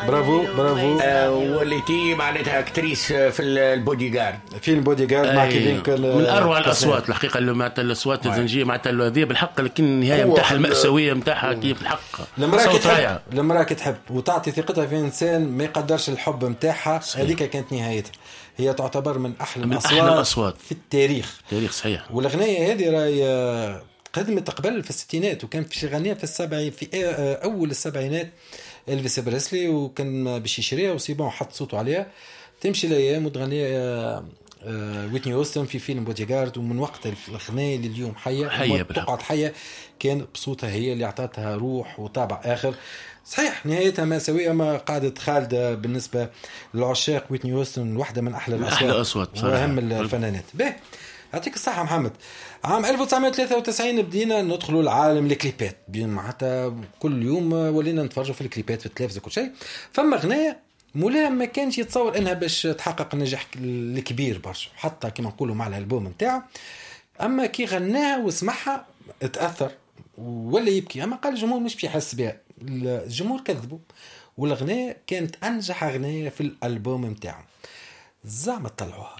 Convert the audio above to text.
برافو برافو. وليتي معناتها actrice في البودي جارد. فيلم بودي جارد مع كيفين. من اروع الاصوات الحقيقه، اللي معناتها الاصوات الزنجيه معناتها هذه بالحق، لكن النهاية نتاعها المأساوية نتاعها كيف الحق. المراة كي تحب، المراة كي تحب وتعطي ثقتها في انسان ما يقدرش الحب نتاعها، هذيك كانت نهايتها. هي تعتبر من احلى من الاصوات، أحلى الأصوات في التاريخ. التاريخ صحيح. والاغنية هذه راهي قدمت قبل في الستينات، وكان في غنية في السبعين، في اول السبعينات الفيس بريسلي، وكان باش يشريها و c'est bon حط صوته عليها. تمشي الايام وتغني ويتني هيوستن في فيلم بودي جارد، ومن وقت الغناية لليوم حيه حيه، تقعد حيه، كان بصوتها هي اللي اعطتها روح وطابع اخر. صحيح نهايتها مأساوية، ما قعدت خالدة بالنسبة للعشاق. ويتني هيوستن واحدة من أحلى الأصوات، أحلى أصوات وأهم الفنانات. به يعطيك الصحة محمد. عام 1993 بدينا ندخلوا العالم الكليبات، معناتها كل يوم ولينا نتفرجوا في الكليبات في التلفزة وكل شيء. فما غناية مولاها ما كانش يتصور انها باش تحقق النجاح الكبير برشا، حتى كما نقولوا مع الالبوم نتاعو. اما كي غناها وسمعها تاثر ولا يبكي، اما قال الجمهور مش باش يحس بها. الجمهور كذبوا، والاغنية كانت انجح اغنية في الالبوم نتاعو. زعما طلعوها.